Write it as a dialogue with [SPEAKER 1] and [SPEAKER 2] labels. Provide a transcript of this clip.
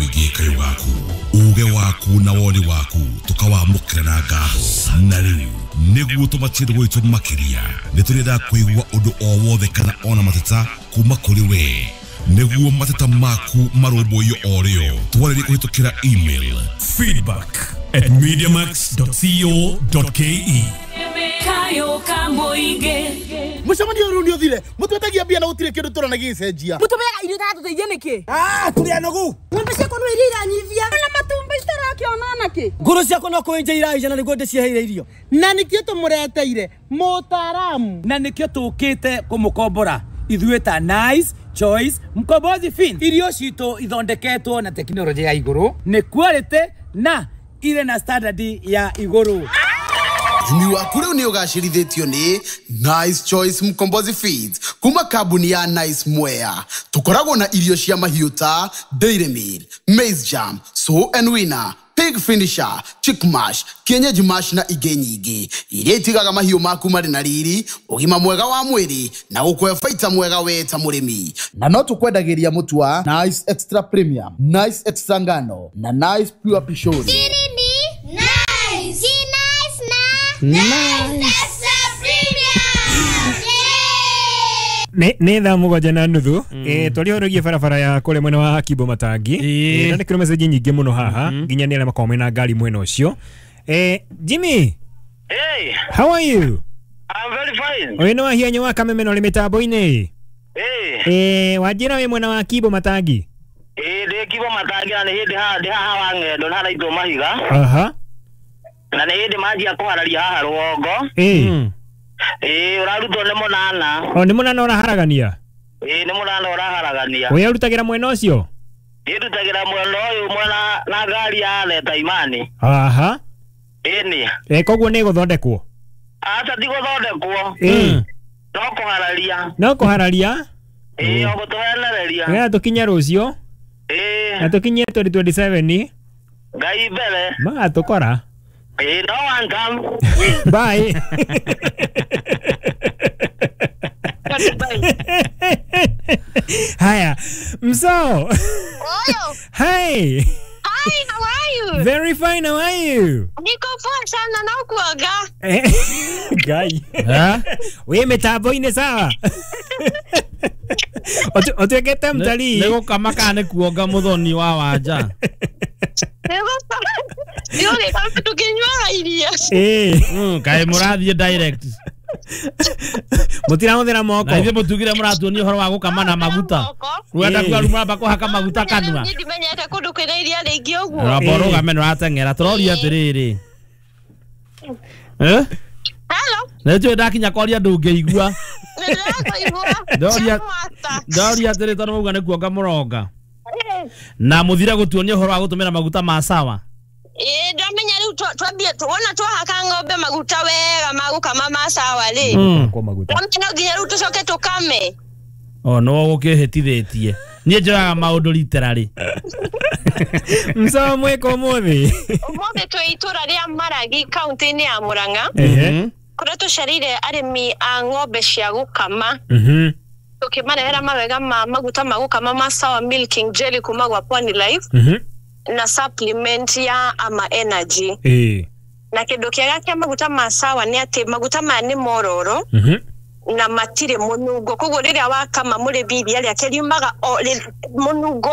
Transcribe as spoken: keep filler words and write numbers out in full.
[SPEAKER 1] Mũingĩ kayũ gaku uge waku na woni waku tukawamũkĩra na ngatho. Na rĩu nĩguo tũmatie gwitũ makĩria, nĩ tũrenda kũigua ũndũ o wothe kana ona mateta kuma kũrĩ we, nĩguo mateta maku marũmbũiyo o rĩo. Twarĩrie kũhĩtũkĩra email
[SPEAKER 2] feedback at mediamax dot co dot K E.
[SPEAKER 3] Kayo kamũingĩ.
[SPEAKER 4] Mũcemanio ũyũ nĩ ũthire, mũtwetagia mbia na gũtirĩ kĩndũ tũrona gĩgĩcenjia.
[SPEAKER 5] Mũtũmeaga irio itaratũteithia nĩkĩ?
[SPEAKER 4] Ah, tũrĩ anogu.
[SPEAKER 5] Ng'ombe ciakwa no iria iranyivia na matumbĩ citarakĩona nakĩ.
[SPEAKER 6] Ngũrũ ciakwa no kũenja iraija na nĩguo ndĩciheire irio.
[SPEAKER 4] Na nĩkĩo tũmũreteire mũtaaramu.
[SPEAKER 7] Na nĩkĩo tũkĩte kũmũkombora ithuĩ ta Nice Choice Mkombozi Feed. Irio citũ ithondeketwo na tekinoronjĩ ya igũrũ, nĩ quality na irĩ na standard ya igũrũ.
[SPEAKER 8] Ũrĩmi waku rĩu nĩ ũgacĩrithĩtio nĩ Nice Choice Mkombozi Feeds kuma kambuni ya Nice Mwea. Tũkoragwo na irio cia mahiũ ta Dairy Meal, Maize Jam, Sow and Winner, Pig Finisher, Chick Mash, Kienyeji Mash na ingĩ nyingĩ iria itigaga mahiũ maku marĩ na riri, ũgima mwega wa mwĩrĩ na gũkũhe baita mwega we ta mũrĩmi.
[SPEAKER 4] Na no tũkwendagĩria mũtu wa Nice Extra Premium, Nice Extra Ngano na Nice Pure Pishori.
[SPEAKER 9] Siri ni nice. Si nice na Nice Extra Premium.
[SPEAKER 10] nä nä thaa mũgwanja na nuthu. Eh, twarĩ barabara ya kũrĩa mwena wa Kimbo Matangi.
[SPEAKER 11] Ĩĩ.
[SPEAKER 10] Eh, na nĩkĩrwo message nyingĩ mũno haha nginya nĩ arĩa makoragwo mena ngari mwena ũcio. Eh, Jimmy.
[SPEAKER 12] Hey.
[SPEAKER 10] How are you?
[SPEAKER 12] I'm very fine.
[SPEAKER 10] Ũyũ nĩ wahianyo wa Kameme na ũrĩ mĩtambo-inĩ.
[SPEAKER 12] Hey.
[SPEAKER 10] Eh, wanjĩra wĩ mwena wa Kimbo Matangi.
[SPEAKER 12] Eh, ndĩ Kimbo Matangi na nĩ hĩndĩ haha ndĩ haha wa ng'endo na haraitwo mahiga.
[SPEAKER 10] Aha.
[SPEAKER 12] Na nĩ hĩndĩ manjia kũhararia haha rũgongo.
[SPEAKER 10] Eh.
[SPEAKER 12] Ĩĩ, ũrarutwo nĩ mũnana.
[SPEAKER 10] O nĩ mũnana ũraharagania?
[SPEAKER 12] Ĩĩ, nĩ mũnana ũraharagania.
[SPEAKER 10] Ũyũ arutagĩra mwena ũcio?
[SPEAKER 12] Ndĩrutagĩra mwena ũyũ mwena na ngari ya Leta Imani.
[SPEAKER 10] Aha.
[SPEAKER 12] Ĩni.
[SPEAKER 10] Eh, koguo nĩ gũthondekwo?
[SPEAKER 12] Aca, ti gũthondekwo.
[SPEAKER 10] Eh.
[SPEAKER 12] No kũhararia.
[SPEAKER 10] No kũhararia?
[SPEAKER 12] Ĩĩ, o gũtũhenereria.
[SPEAKER 10] Nĩgetha tũkinye rũciũ.
[SPEAKER 12] Ĩĩ.
[SPEAKER 10] Na tũkinye twenty twenty-seven.
[SPEAKER 12] Ngai mbere.
[SPEAKER 10] Magatũkora.
[SPEAKER 12] Ĩĩ, no one come.
[SPEAKER 10] Bye. Haya, mso.
[SPEAKER 9] Oyo.
[SPEAKER 10] Hi.
[SPEAKER 9] Hi, how are you?
[SPEAKER 10] Very fine, how are you?
[SPEAKER 9] Niko poa sana na ukuaga.
[SPEAKER 10] Eh, Ngai. Wĩ mĩtambo-inĩ sawa? Ũtuĩkĩte mtalii.
[SPEAKER 11] Nĩ gũkama kana nĩ kuonga mũthoni wa wanja?
[SPEAKER 9] Ndio kama tukinywa iria.
[SPEAKER 10] Eh.
[SPEAKER 11] Mm, kaĩ mũrathiĩ direct?
[SPEAKER 10] Mũtirahũthĩra moko.
[SPEAKER 11] Na ithuĩ mũtugire mũratuonia ũhoro wa gũkama na maguta. Rwenda kuga rĩu mũramba kũhaka maguta kanua.
[SPEAKER 9] Niĩ ndimenyete kũndũ kwĩna iria rĩingĩ ũguo.
[SPEAKER 11] Rwamba ũrũgame, nĩ ũrateng'era. Tũroria atĩrĩrĩ. Eh?
[SPEAKER 9] Hello.
[SPEAKER 11] Nĩ njũĩ ndakinya kwaria ndũngĩigua.
[SPEAKER 9] Nĩndĩrakũigua.
[SPEAKER 11] Ndoria ndoria atĩrĩ, tondũ mauga nĩ kuonga mũronga. Na mũthire gũtuonia ũhoro wa gũtũmĩra maguta ma sawa.
[SPEAKER 9] Ĩĩ, ndamenya rĩu twambie wona twahaka ng'ombe maguta wega ma gũkama ma sawa rĩ.
[SPEAKER 10] Kwa maguta.
[SPEAKER 9] Ndamenya no nginya rĩu tũcoke tũkame.
[SPEAKER 11] O no gũkĩhĩtithĩtie. Niĩ njoyaga maũndũ literally.
[SPEAKER 10] Msawa mwĩka ũmũthĩ?
[SPEAKER 9] Ũmũthĩ twĩ itũra rĩa Maragi kaunti-inĩ ya Murang'a.
[SPEAKER 10] Ehe.
[SPEAKER 9] Kũrĩa tũcereire arĩmi a ng'ombe cia gũkama.
[SPEAKER 10] Mhm.
[SPEAKER 9] Tũkĩmarehera mawega ma maguta ma gũkama ma Sawa Milking Jelly kuma gwa Pwani Life.
[SPEAKER 10] Mhm.
[SPEAKER 9] Na supplement ya Ama Energy.
[SPEAKER 10] Eh.
[SPEAKER 9] Na kĩndũ kĩega kĩa maguta ma sawa nĩ atĩ maguta maya nĩ mororo.
[SPEAKER 10] Mhm.
[SPEAKER 9] Na matirĩ mũnungo, koguo rĩrĩa wakama mũrĩmi iria rĩake riumaga o mũnungo.